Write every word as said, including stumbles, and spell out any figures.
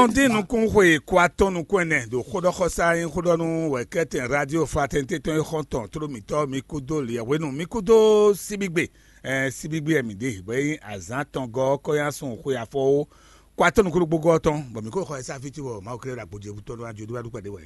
Tɔndín nukún xwe kó atɔ́ nukún ɛnɛ ɖo xóɖɔxɔsá nyí xóɖɔnú wɛ̌kɛ́tɛn Radio Fraternité tɔn e xɔ́ntɔn tló mǐtɔn mi kúdó liɛhwenu mi kúdó síbígbe. Síbígbe ɛ mǐ ɖe bɔ é nyí azǎn tɔn gɔ́ kɔ́nyásun xwe afɔwó kó atɔ́ nukún ɖokpó gɔ́ tɔn bɔ mǐ kó xɔ ɛ sá fí cóbɔ Mawu klé ɖo agbójé bú tɔn ɖó ajo ɖó wá ɖu kpɛɖé wɛ.